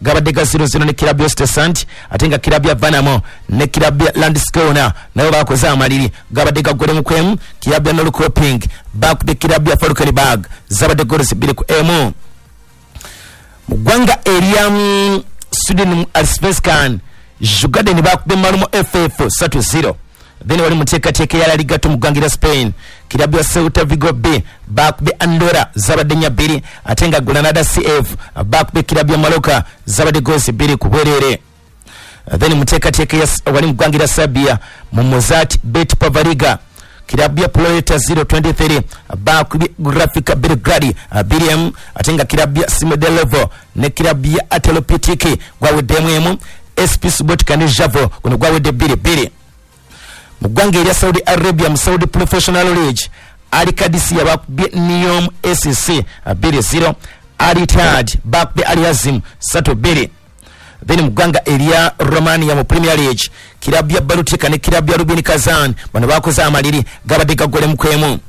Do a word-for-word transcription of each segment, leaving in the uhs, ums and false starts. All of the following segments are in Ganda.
Gabadde ga zero zero ne kirabu ya Östersund, ate nga kirabu ya Värnamo ne kirabu ya Landskrona nabo bakoze amaliri, gabadde ga gole mu kwemu. Kirabu ya Norrköping bakubye kirabu ya Falkenberg, zabadde goals bbiri ku emu. Mu ggwanga erya Sweden mu Allsvenskan, Djurgården bakubye Malmö F F ssatu zero. Then wali mu nteekateeka ya La Liga two mu ggwanga erya Spain, kirabu ya Celta Vigo B bakubye Andorra zabadde nnya bbiri, ate nga Granada C F bakubye kirabu ya Mallorca zabadde goals bbiri ku bwereere. Then mu nteekateeka ya wali mu ggwanga erya Serbia mu Mozart Bet Pavariga, kirabu ya Proletar zero twenty-three bakubye Grafika Belgrade bbiri emu, ate nga kirabu ya Smederevo ne kirabu ya Atelopitiki gwaweddemu emu. S P Subotica ne Javo guno gwawedde bbiri bbiri. Mu ggwanga erya Saudi Arabia mu Saudi Professional League, Al Qadisiyah bakubye Neom S C bbiri zero, Al Ittihad bakubye Al Hazm ssatu bbiri. Then mu ggwanga erya Romania mu Premier League, kirabu ya Baltika ne kirabu ya Rubin Kazan bano bakoze amaliri, gabadde gagolemu kwemu.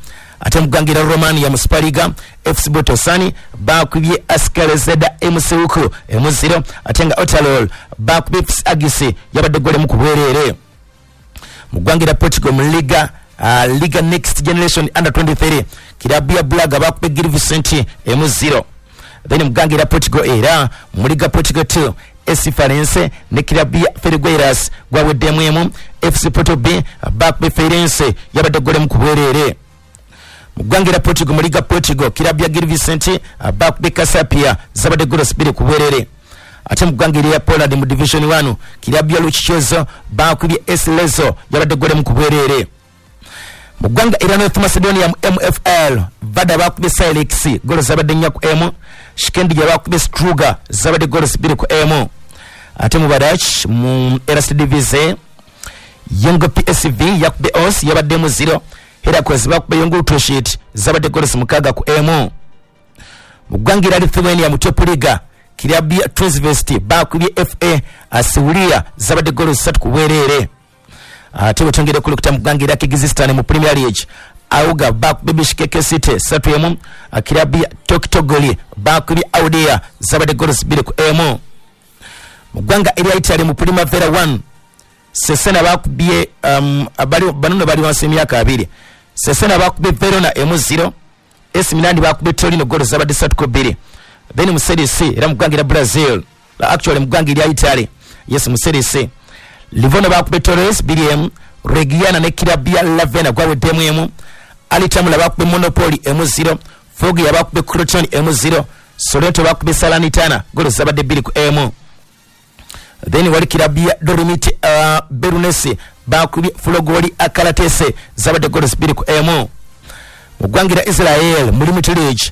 Ate mu ggwanga erya Romania mu Super Liga, F C Botosani bakubye Ascarezeda M C Uku emu zero, ate nga Otalol bakubye F C Agisi yabadde golemu ku bwereere. Mu ggwanga erya Portugal mu Liga, uh, Liga Next Generation Under twenty-three, kirabu ya Braga bakubye Gil Vicente emu zero. Then mu ggwanga erya Portugal era mu Liga Portugal two, S C Farense ne kirabu ya Felgueiras gwaweddemu emu. F C Porto B bakubye Feirense yabadde golemu ku bwereere. Mu ggwanga erya Portugal mu Liga Portugal, kirabu ya Gil Vicente bakubye Casapia zabadde goals bbiri ku bwereere. Ate mu ggwanga erya Poland mu Division one, kirabu ya Luchichezo bakubye S Lezo yabadde golemu ku bwereere. Mu ggwanga erya North Macedonia mu M F L, Vada bakubye Silex goals zabadde nnya ku emu. Shikendi bakubye Struga zabadde goals bbiri ku emu. Ate mu Badach mu Eerste Divisie, Young P S V yakubye Os yabadde mu zero. Heracles bakubye Young Utoshit zabadde goals mukaaga ku emu. Mu ggwanga erya Lithuania mu Top Liga, kirabu ya Transvest bakubye F A Asiulia zabadde goals ssatu ku bwereere. Ate bwetwongera okulukuta mu ggwanga erya Kyrgyzstan mu Premier League, Auga bakubye Bishkek City ssatu emu. Kirabu ya Toktogoli bakubye Audea zabadde goals bbiri ku emu. Mu ggwanga erya Italy mu Primavera one, Cesena bakubye um, abali banono bali wansi emyaka abiri. Cesena bakubye Verona emu zero. A C Milan bakubye Torino goals zabadde ssatu ku bbiri. Then mu Serie C era mu ggwanga erya Brazil, actually mu ggwanga erya Italy, yes mu Serie C, Livorno bakubye Torres bbiri emu. Reggiana ne kirabu ya Ravenna gwaweddemu emu. Altamura bakubye Monopoli emu zero. Foggia bakubye Crotone emu zero. Sorrento bakubye Salernitana goals zabadde bbiri ku emu. Then wali kirabu ya Dolomiti uh, Bellunese bakubye Fulgori Akalatese zabadde goals bbiri ku emu. Mu ggwanga erya Israel mu Limited League,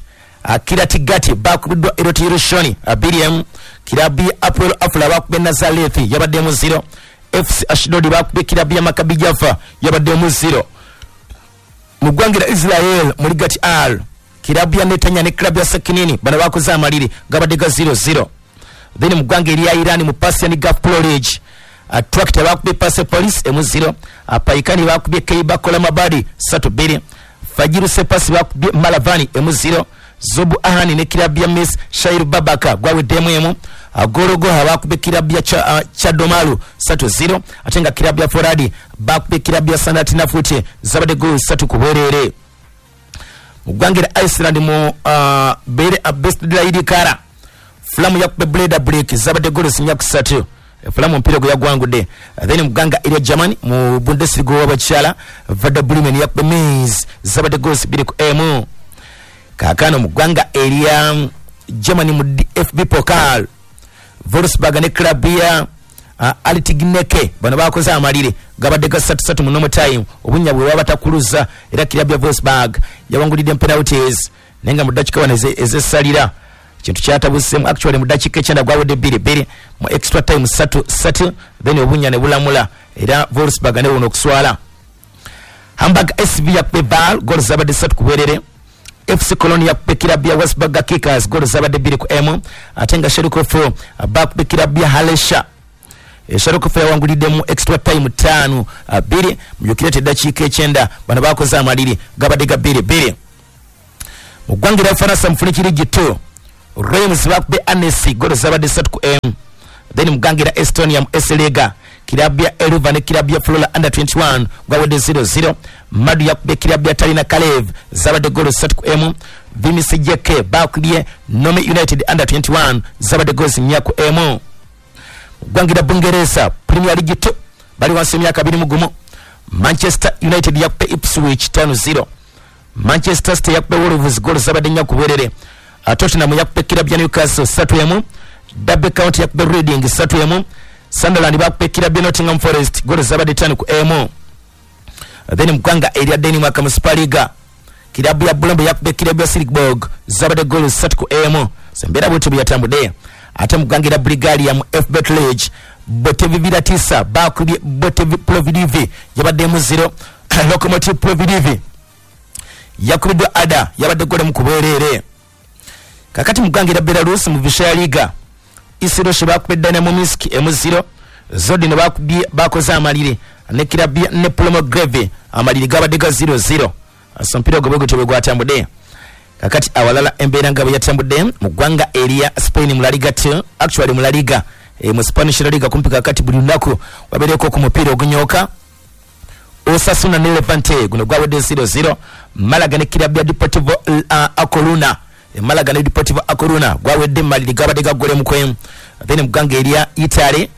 Kiryat Gat bakubiddwa Elot Yerushalmi bbiri emu. Kirabu ya Hapoel Afula bakubye Nazareth yabadde mu zero. F C Ashdod bakubye kirabu ya Maccabi Jaffa yabadde mu zero. Mu ggwanga erya Israel mu Ligat Al, kirabu ya Netanya ne kirabu ya Sakinini bano bakoze amaliri gabadde ga zero zero. Then mu ggwanga erya Iran mu Persian Gulf Pro League, Tractor bakubye Persepolis emu zero. Paikani bakubye Keiba Kolamabadi ssatu bbiri. Fajiru Sepasi bakubye Malavani emu zero. Zobu Ahani ne kirabu ya Miss Shair Babaka gwaweddemu emu. Gorogoha bakubye kirabu ya cha, uh, Chadomalu ssatu zero. Ate nga kirabu ya Foradi bakubye kirabu ya Sanati Nafute zabadde goals ssatu ku bwereere. Mu ggwanga erya Iceland mu uh, Bere Best Kara, Flamu yakubye Bleda Break zabadde goals nnya ku ssatu. Flamu omupiira gwe yagwangudde. Then mu ggwanga erya Germany mu Bundesliga w'abakyala, Werder Bremen yakubye Mainz zabadde goals bbiri ku emu. Kaakano mu ggwanga erya Germany mu D F B Pokal, Wolfsburg ne club ya uh, Altigneke bano bakoze amalire gabadde ga ssatu ssatu mu normal time, obunnya bwe babatakuluza era club ya Wolfsburg yawangulidde penalties, naye nga mu ddakiika wano ezessalira kintu kyatabuseemu. Actually mu ddakiika ekyenda gwawedde bbiri bbiri, mu extra time ssatu ssatu, then obunnya ne bulamula era Wolfsburg ne buno okuswala. Hamburg S V yakubye Val goals zabadde ssatu ku bwerere. F C Cologne yakubye kirabu ya Wolfsburg Kickers goals zabadde bbiri ku emu, ate nga Schalke four bakubye kirabu ya Halesha. Schalke four yawangulidde mu extra time ttaano bbiri, mujjukire nti eddakiika ekyenda bano bakoze amaliri gabadde ga bbiri bbiri. Mu ggwanga erya Bufalansa mu French League two, Reims bakubye Annecy golo zabadde ssatu ku emu. Then mugangira Estonia mu Esliga, kirabu ya Eluva ne kirabu ya Flora under twenty-one gwawedde zero zero. Madu yakubye kirabu ya Talina Kalev zabadde golo ssatu ku emu. Vimisi J K bakubye Nome United under twenty-one zabadde golo nnya ku emu. Gwangira Bungereza Premier League two bali wansi emyaka abiri mu gumu. Manchester United yakubye Ipswich tano zero. Manchester City yakubye Wolves golo zabadde nnya ku bwerere. Tottenham yakubye kirabu ya Newcastle ssatu emu. Derby County yakubye Reading ssatu emu. Sunderland bakubye kirabu ya Nottingham Forest golo zabadde ttaano ku emu. Then mugwanga erya Denmark mu Super Liga, kirabu ya Brøndby yakubye kirabu ya Silkeborg zabadde golo ssatu ku emu. Embeera bwetyo bwe yatambudde. Ate mugwanga era Bulgaria mu F Bet League, Botev Viratisa bakubye Botev Plovdiv yabadde mu zero. Lokomotiv Plovdiv yakubiddwa Ada yabadde golo mu kubwerere. Kakati mugwanga era Belarus mu Vishaya Liga, Isiroshe bakubye Dynamo Minsk emu zero. Zodino bakubye bakoze amaliri ne kirabu ya Neplomogreve amaliri gabadde ga zero zero. So mpira ogwo bwe gutyo gwatambudde. Kakati awalala embeera nga bwe yatambudde mu ggwanga erya Spain mu La Liga two, actually mu La Liga e, mu Spanish La Liga kumpi kakati buli lunaku wabeereko ku mupiira ogunyooka. Osasuna ne Levante guno gwawedde zero zero. Malaga ne kirabu ya Deportivo uh, A Coruña, e, Malaga ne Deportivo A Coruña gwawedde maliri gabadde ga gole mu kwemu. Then mu ggwanga erya Italy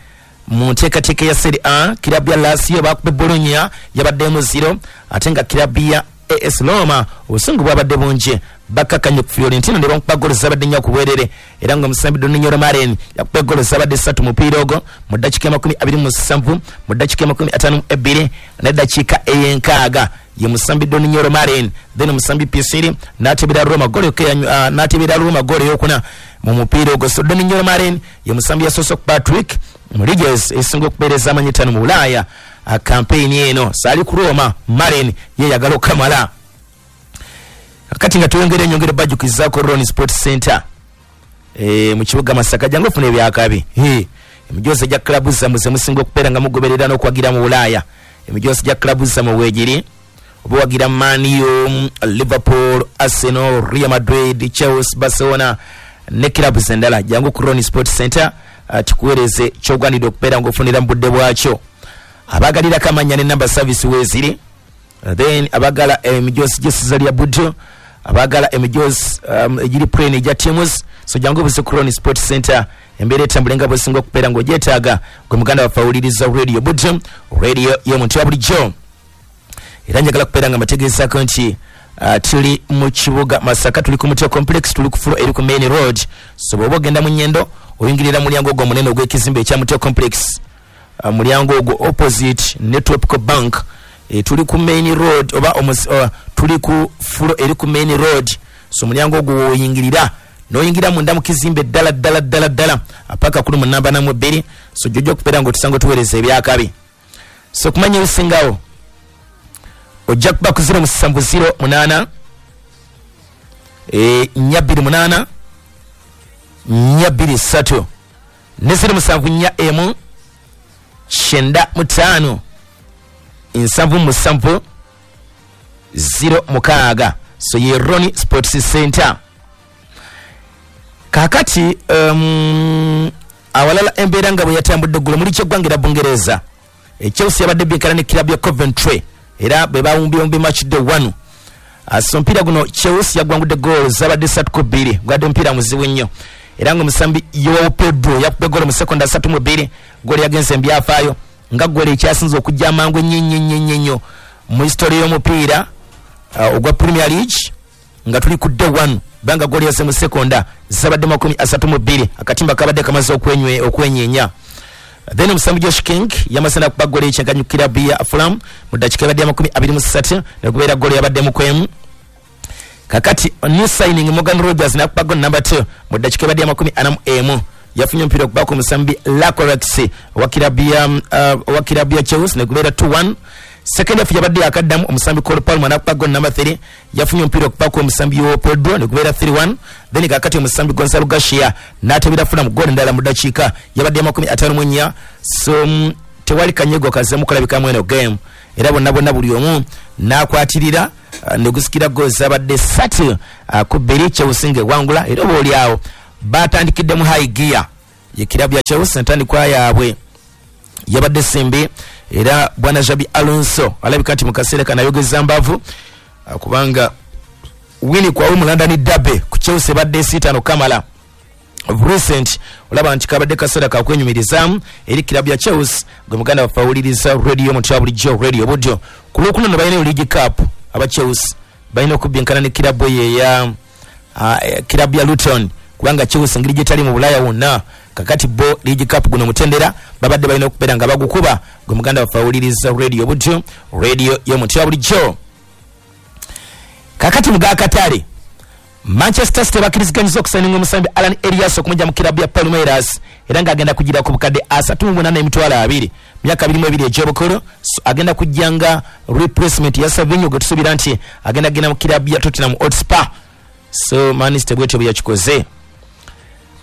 mu nteekateeka ya Serie A, kirabu ya Lazio bakubye Bologna yabadde mu zero. Ate nga kirabu ya A S Roma obusungu bwabadde bungi bakakanye ku Fiorentina ne bamukuba golo zabadde nnya ku bwerere, era nga omusambi Donyell Malen yakuba golo zabadde ssatu mupiira ogwo mu ddakiika amakumi abiri mu musanvu, mu ddakiika amakumi ataano mu ebbiri n'eddakiika ey'enkaaga ye musambi Donyell Malen. Then omusambi Pisiri n'atebera Roma golo uh, n'atebera Roma golo ey'okuna mu mupiira ogwo. So Donyell Malen ye musambi yasoose ku Patrick mu liigi esinga okubeereza amanyi ttaano mu Bulaaya kampeyini eno. Saali ku Roma, Malen ye yagala okukamala. Kakati nga tuyongera enyongera bajjukizaako Ron Sports Center e, mu kibuga Masaka, jangu ofuna ebyakabi. Emijoozi gya club zammwe ze musinga okubeera nga mugoberera n'okuwagira mu Bulaaya. Emijoozi gya club zammwe weegiri oba wagira Man U, Liverpool, Arsenal, Real Madrid, Chelsea, Barcelona ne club endala, jangu ku Ron Sports Center tukuweereze ky'ogwanidde okubeera ng'ofunira mu budde bwakyo. Abagalirako amannya ne number service weeziri. Then abagala emijoozi gy'essaza lya Buddo, abagala emijoozi um, egiri plane egya teams. So jangu obuze ku Ron Sports Center, embeera etambule nga bw'osinga okubeera ng'ogyetaaga. Gwe muganda waffe awuliriza Radio Buddo, radio y'omuntu wa bulijjo. Era njagala kubeera nga mbategeezaako nti uh, tuli mu kibuga Masaka, tuli ku Mutio Complex, tuli ku floor eri ku main road. So bw'oba ogenda mu Nyendo oyingirira mulyango ogwo omunene ogw'ekizimbe ekya Mutio Complex, uh, mulyango ogwo opposite ne Tropical Bank. E, tuli ku main road oba omus, uh, tuli ku floor eri ku main road. So mulyango ogwo woyingirira n'oyingira munda mu kizimbe ddala ddala ddala ddala paka kuli mu namba namu bbiri. So jojja okubeera ng'otusanga otuweereza ebyakabi. So okumanya ebisingawo ojja kuba ku zero musanvu zero munaana e, nnya bbiri munaana nnya bbiri ssatu ne zero musanvu nnya emu kyenda mu ttaano nsanvu musanvu zero mukaaga. So ye Ron Sports Center. Kakati um, awalala embeera nga bwe yatambudde eggulo muli kyeggwanga era Bungereza, e, Chelsea yabadde benkana ne kirabu ya Coventry era bwe bawumbyewumbi match day one. So omupiira guno Chelsea yagwangudde goal zabadde ssatu ku bbiri, gwadde omupiira muzibu nnyo, era ng'omusambi Joao Pedro yakubye goolo mu sekonda asatu mu bbiri, goolo yagenze embyafaayo nga goolo ekyasinze okujja amangu ennyo ennyo ennyo ennyo ennyo mu history y'omupiira uh, ogwa Premier League nga tuli ku day one, banga goolo yaze mu sekonda zabadde makumi asatu mu bbiri, akatimba kabadde kamaze okwenywe okwenyenya. Then omusambi Josh King yamaze n'akuba goolo ekyenkanyi ku kirabu ya Fulham mu ddakiika ebadde amakumi abiri mu ssatu nekubeera goolo yabadde mu kwemu. Kakati new signing Morgan Rogers n'akuba goolo number two mu ddakiika ebadde amakumi ana mu emu, yafunye omupiira okubaako omusambi Lacorex owa kirabu ya uh, owa kirabu ya Chelsea nekubeera two one. Second half yabadde yakaddamu omusambi Cole Palmer n'akuba goal number three, yafunye omupiira okubaako omusambi Joao Pedro nekubeera three one. Then kakati omusambi Gonzalo Garcia n'atebera Fulham goal endala mu ddakiika yabadde amakumi ataano mu nnya. So um, tewali kanyego kazzemu kulabikamu eno game, era bonna bonna buli omu n'akwatirira uh, negusikira goal zabadde ssatu uh, ku bbiri Chelsea ng'ewangula. Era oba oli awo Batandikidde mu high gear ye kirabu ya Chelsea, entandikwa yaabwe yabadde simbi, era bwana Xabi Alonso alabika nti mu kaseera kano ayogeza mbavu, kubanga wini kwa mu London derby ku Chelsea badde sitano kamala recent, olaba nti kabadde kaseera kakwenyumirizaamu eri kirabu ya Chelsea. Gwe muganda waffe awuliriza radio mutya bulijjo radio budyo, ku lwokuna no balina League Cup, aba Chelsea balina okubyenkana ne kirabu ye ya uh, kirabu ya Luton, kubanga Chelsea ngeri gyetali mu Bulaya wonna kakati bo League Cup guno mutendera babadde balina okubeera nga bagukuba. Gwe muganda waffe awuliriza radio budyo radio y'omutya bulijjo. Kakati muga Katari, Manchester City bakiriziganyiza okusayininga omusambi Alan Elias okumujja mu kirabu ya Palmeiras, era ng'agenda kugira ku bukadde asatu mu munaana emitwalo abiri, myaka abiri mu ebiri egy'obukulu. So, agenda kujja nga replacement ya Savinho gwe tusuubira nti agenda genda mu kirabu ya Tottenham Hotspur. So Man City bwetyo bwe yakikoze.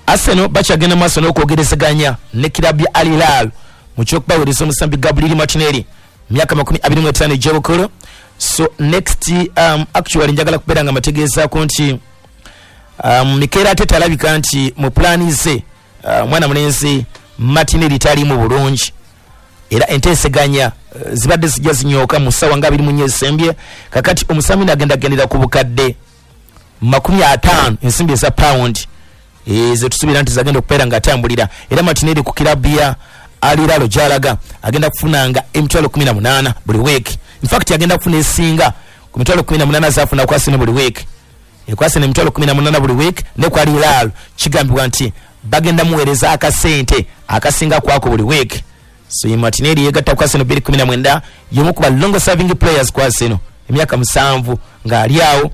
Arsenal bakyagenda maaso n'okwogerezeganya ne kirabu ya Al Hilal mu ky'okubaweereza omusambi Gabriel Martinelli, myaka makumi abiri mu etaano egy'obukulu. So next um, actually njagala kubeera nga mategeezaako nti um, Mikel Arteta alabika nti mu pulaani ze uh, mwana mulenzi Martinelli taliimu bulungi, era enteeseganya uh, zibadde zijja zinyooka mu ssaawa nga abiri mu nnya ezisembye. Kakati omusambi n'agenda agendera ku bukadde makumi ataano ensimbi eza pound zetusuubira nti zagenda okubeera ng'atambulira. Era Martinelli ku kirabu ya Al Hilal gy'alaga agenda kufunanga emitwalo kumi na munaana buli week. In fact agenda kufuna esinga ku mitwalo kumi na munaana z'afuna ku Arsenal buli week, ku Arsenal emitwalo kumi na munaana buli week, ne ku Al Hilal kigambibwa nti bagenda muweereza akasente akasinga kwako buli week. So ye Martinelli yegatta ku Arsenal bbiri kumi na mwenda, y'omu ku ba long serving players ku Arsenal emyaka musanvu ng'ali awo.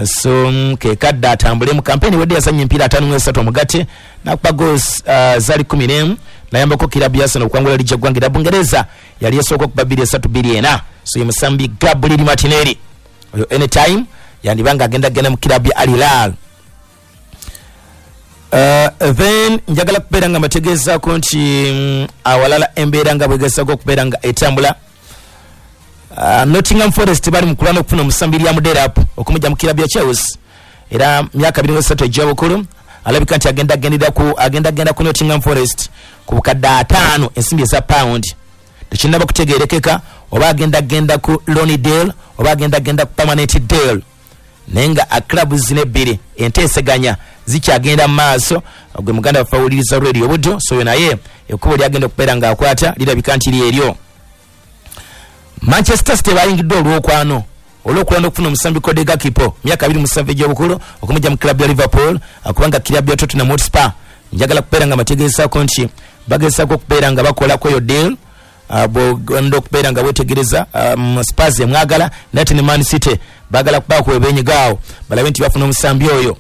So kekadde atambule mu kampeni wedde yazannya emipiira ataano mu esatu omugatte n'akuba goals uh, zaali kumi n'emu, nayambako kirabu ya Arsenal okuwangula liigi y'eggwanga erya Bungereza yali esooka okuba bbiri esatu bbiri ena. So ye musambi Gabriel Martinelli oyo anytime yandiba nga agenda genda mu kirabu ya Al Hilal. Uh, then njagala kubeera nga mbategeezaako nti mm, awalala embeera nga bwegezaako okubeera nga etambula. Uh, Nottingham Forest bali mu kulwana okufuna omusambi Liam Delap okumujja mu kirabu ya Chelsea, era myaka abiri mu esatu egy'obukulu alabika nti agenda agendera ku agenda agenda ku Nottingham Forest ku bukadde ataano ensimbi eza pound. Tekinnaba kutegeerekeka oba agenda agenda ku loan deal oba agenda agenda ku permanent deal, naye nga club zino ebbiri enteeseganya zikyagenda mu maaso. Gwe muganda waffe awuliriza radio buddo, so naye ekkubo lyagenda okubeera ng'akwata lirabika nti lyeryo. Manchester City bayingidde olwokwano olw'okulwana okufuna omusambi Cody Gakpo myaka abiri mu musanvu egy'obukulu okumujja mu club ya Liverpool, kubanga club ya Tottenham Hotspur njagala kubeera nga mbategeezaako nti bagezaako okubeera nga bakolako eyo deal. Uh, bw'ogenda okubeera nga weetegereza um, Spurs emwagala nate ne Man City baagala kubaako webenyigaawo balabe nti bafuna omusambi oyo.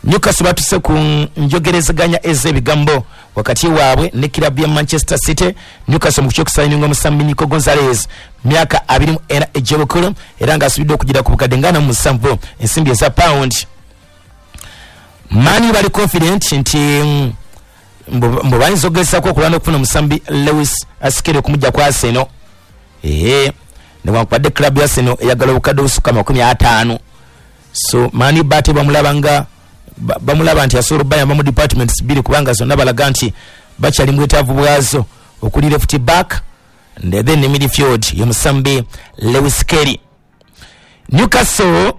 Newcastle batuse ku njogerezeganya ez'ebigambo wakati waabwe ne kirabu ya Manchester City. Newcastle mu kyokusayininga omusambi Nico Gonzalez myaka abiri mu ena egy'obukulu, era ng'asuubidde okugira ku bukadde nga ana mu musanvu ensimbi eza pound. Man U bali confident nti mbu bayinza okugezaako okulwana okufuna omusambi Lewis Skelly okumujja ku Arsenal. Ee, newankubadde club ya Arsenal eyagala obukadde obusukka makumi ataano. So Man U bate bamulaba nga bamulaba nti asobola okubayamba mu departments bbiri, kubanga zonna balaga nti bakyali mu bwetaavu bwazo okuli left back and then ne midfield ye musambi Lewis Skelly. Newcastle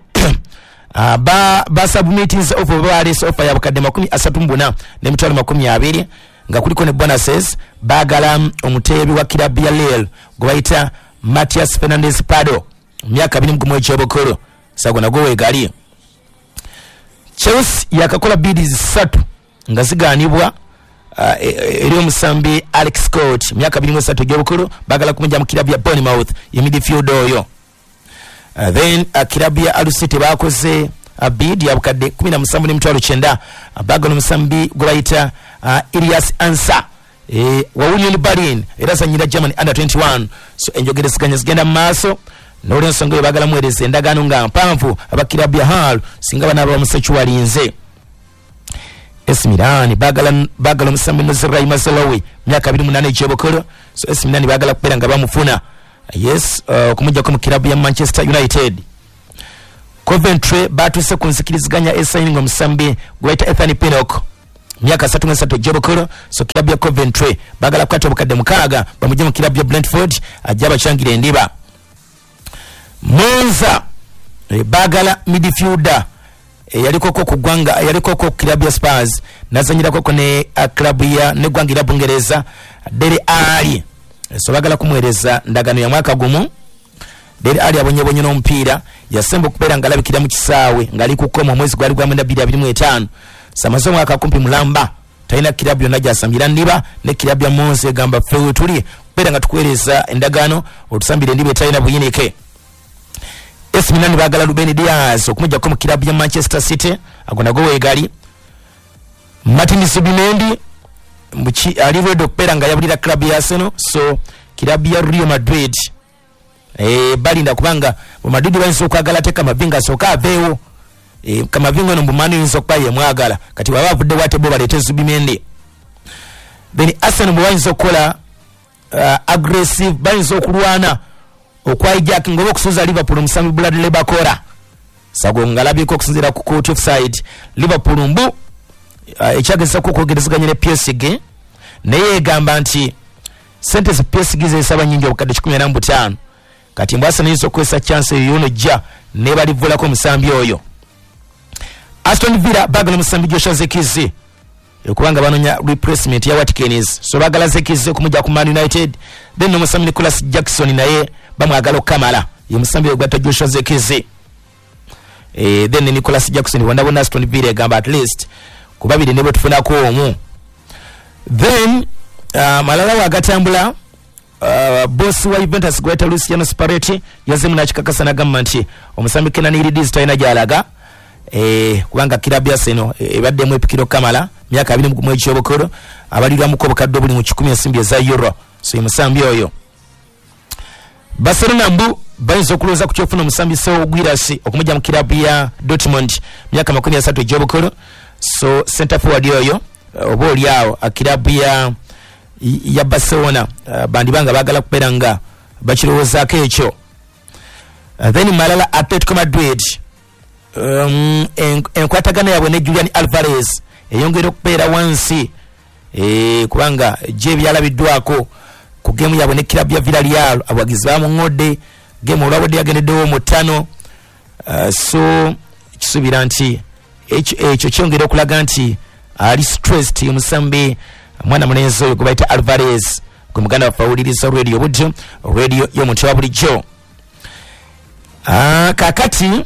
uh, ba basubmittinze offer baleese offer ya bukadde makumi asatu mu buna n'emitwalo makumi abiri nga kuliko ne bonuses. Baagala omuteebi wa kirabu ya Lille gwe bayita Matias Fernandez Pardo myaka abiri mu gumu egy'obukulu, sago nagwo weegali. Chelsea yakakola bids ssatu nga zigaanibwa uh, eri omusambi Alex Scott myaka abiri mu esatu egy'obukulu, baagala kumujja mu kirabu ya Bournemouth ye midfield oyo. Uh, then uh, kirabu ya Hull City bakoze uh, bid ya bukadde kumi na musanvu n'emitwalo kyenda, uh, baagala omusambi gwe bayita uh, Elias Ansa e, wa Union Berlin era azannyira Germany under twenty-one. So enjogerezeganya zigenda mu maaso n'olwensonga eyo baagala muweereza endagaano nga mpanvu aba kirabu ya Hull singa banaaba bamusekiwalinze. A C Milan baagala baagala omusambi Nozrai Mazraoui myaka abiri mu munaana egy'obukulu. So A C Milan baagala kubeera nga bamufuna yes uh, okumuggyako mu kirabu ya Manchester United. Coventry batuuse ku nzikiriziganya esayininga omusambi gwe bayita Ethan Pinnock, myaka asatu mu esatu egy'obukulu. So kirabu ya Coventry baagala kukwata obukadde mukaaga bamugye mu kirabu ya Brentford ajje abacangire endiba. Monza eh, baagala midfielder eyalikoko ku ggwanga, yalikoko ku kirabu ya Spurs, nazanyirako ne klabu ya neggwanga erya Bungereza, Dele Alli. So baagala kumuweereza ndagaano ya mwaka gumu. Dele Alli abonyebonye n'omupiira, yasemba okubeera ng'alabikira mu kisaawe ng'ali ku kkomo omwezi gwali gwa mwenda bbiri abiri mu etaano. Samaze omwaka kumpi mulamba talina kirabu yonna gy'asambira ndiba, ne kirabu ya Monza egamba ffe we tuli kubeera nga tukuweereza endagaano otusambira endiba etalina buyinike. A C Milan baagala Ruben Dias okumuggyako mu kirabu ya Manchester City, ago nago weegali. Martin Zubimendi muki ali ready okubeera nga yabulira club ya Arsenal, so kirabu ya Real Madrid eh balinda kubanga mu Madrid bayinza okwagala ate Camavinga asooka aveewo. eh Camavinga ono mbumani yinza okuba ye mwagala, kati bw'aba avudde bw'ate bo baleete Zubimendi. Then Arsenal bwe bayinza okukola uh, aggressive, bayinza okulwana okwahijackinga oba okusuuza Liverpool omusambi Bradley Barcola. Sago ngalabyeko okusinziira ku court offside Liverpool mbu uh, ekyagezako okwogerezeganya ne P S G, naye egamba nti sente zi P S G zesaba nyingi, obukadde kikumi ana mu butaano. Kati mbu Arsenal eyinza okukozesa chance eyo yono jja ne balivulako omusambi oyo. Aston Villa baagala omusambi Joshua Zirkzee kubanga banonya replacement ya Watkins, so baagala Zirkzee okumujja ku Man United. Then n'omusambi Nicholas Jackson naye bamwagala okukamala, ye musambi ogwatta Joshua Zirkzee, eh, then Nicholas Jackson bonna bonna Aston Villa egamba at least ku babiri ne bwe tufunako omu. Then uh, malala wagatambula, uh, boss wa Juventus gweta Luciano Spalletti yazemu n'akikakasa n'agamba nti omusambi Kenan Yildiz talina gy'alaga, eh, kubanga kirabu ya Arsenal ebaddemu epikiro kamala myaka abiri mu gumu egy'obukulu, abalirwamuko obukadde obuli mu kikumi ensimbi eza euro. So ye musambi oyo. Barcelona mbu bayinza okulowooza ku kyofuna omusambi Serhou Guirassy okumujja mu kirabu ya Dortmund, myaka makumi asatu egy'obukulu. So center forward oyo oba oli awo kirabu ya ya Barcelona uh, bandibanga baagala kubeera nga bakirowoozaako ekyo. uh, then malala Atletico Madrid, um, enkwatagana yaabwe ne Julian Alvarez eyongera okubeera wansi, e, kubanga gye byalabiddwako ku gemu yaabwe ne kirabu ya Villarreal, abawagizi bamuŋŋodde gemu olwabadde yagendeddewo mu ttano. uh, so kisuubira nti ekyo kyongera okulaga nti ali stressed omusambi mwana mulenzi oyo gwe bayita Alvarez. Gwe muganda waffe awuliriza Radio Buddo, radio y'omuntu wa bulijjo. Ah, kakati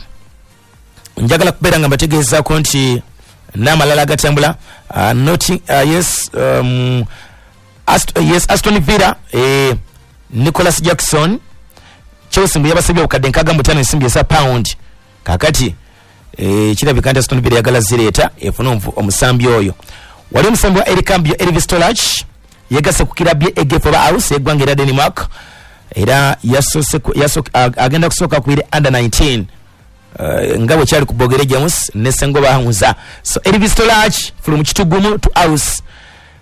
njagala kubeera nga mbategeezaako nti n'amalala agatambula, uh, not, uh, yes, um, Ast yes, Aston Villa, eh, Nicholas Jackson, Chelsea mbu yabasabye obukadde nkaaga mu butaano ensimbi eza pound. Kakati eh, kirabika nti Aston Villa yagala zireeta efune omusambi oyo. Wali omusambi wa Eric Cambio, Elvis Tolach, yegasse ku kirabu ye A G F oba Aarhus eggwanga era Denmark, era yasoose agenda kusooka ku under nineteen, uh, nga bwe kyali ku Bogere James ne Sengoba Hamza. So Elvis Tolach from Kitugumu to Aarhus,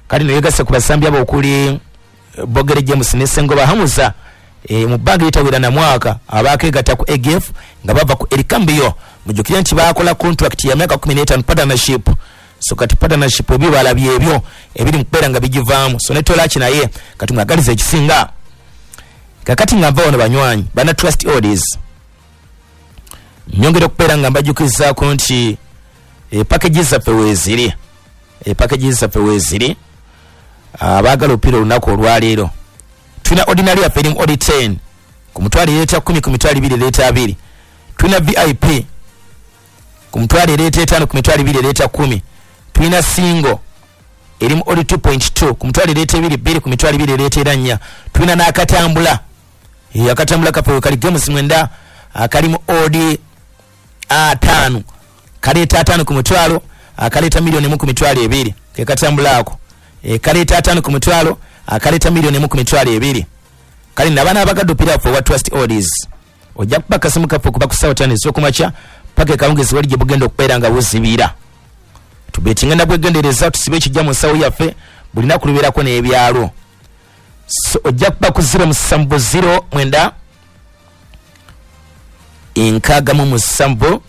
kati no yegasse ku basambi abo okuli Bogere James ne Sengoba Hamza, e, mu bbanga eritawera na mwaka abakegatta ku A G F nga bava ku Ericambio. Mujjukire nti baakola contract ya myaka kumi n'etaano partnership, so kati partnership ebibala byebyo ebiri mu kubeera nga bigivaamu. So ne Tolach naye kati mwagaliza ekisinga. Kakati nga nva wano, banywanyi bana Trust Oldies, nyongera okubeera nga mbajjukizaako nti e, package zaffe weeziri, e, package zaffe weeziri. Abaagala opiira olunaku olwaleero, tulina ordinary yaffe erimu odi ten ku mutwalo ereeta kumi, ku mitwalo ebiri ereeta abiri. Tulina V I P ku mutwalo ereeta etaano, ku mitwalo ebiri ereeta kumi. Tulina single erimu odi two point two ku mutwalo ereeta ebiri bbiri, ku mitwalo ebiri ereeta era nnya. Tulina n'akatambula, e, akatambula kaffe kali games mwenda, akalimu odi ataano, kaleeta ataano ku mutwalo, akaleeta miliyoni emu ku mitwalo ebiri. Ke katambula ako, e, kaleeta ataano ku mutwalo, akaleeta miliyoni emu ku mitwalo ebiri. Kale nabaana abagadde opiira waffe owa Trust Oldies, ojja kuba akasimu kaffe okuva ku ssaawa ttaano ez'okumakya paka ekawungezi wali gye bugenda okubeera nga buzibira. Tubeetinga nabwegendereza, tusibe ekijja mu nsawo yaffe. Buli naku lubeerako n'ebyalo. So ojja kuba ku zero musanvu zero mwenda enkaaga mu musanvu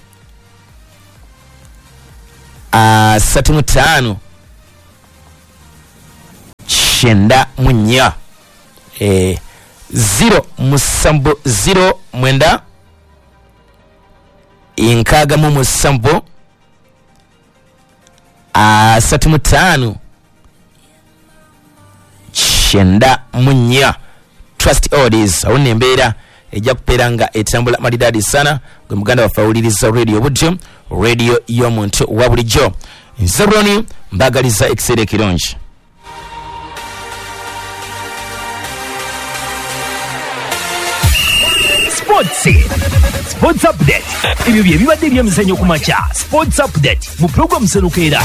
asatu mu ttaano kyenda mu nnya eh, zero musanvu zero mwenda nkaaga mu musanvu asatu mu ttaano kyenda mu nnya. Trust Oldies awo nembeera ejja kubeera nga etambula malidadi sana. Gwe muganda waffe awuliriza radio bujjo, radio y'omuntu wa bulijjo. Nze Roni, mbagaliza ekiseera ekirungi. Sports Sports Update. Ebyo bye bibadde ebyemizannyo ku makya. Sports Update mu program Serukeera.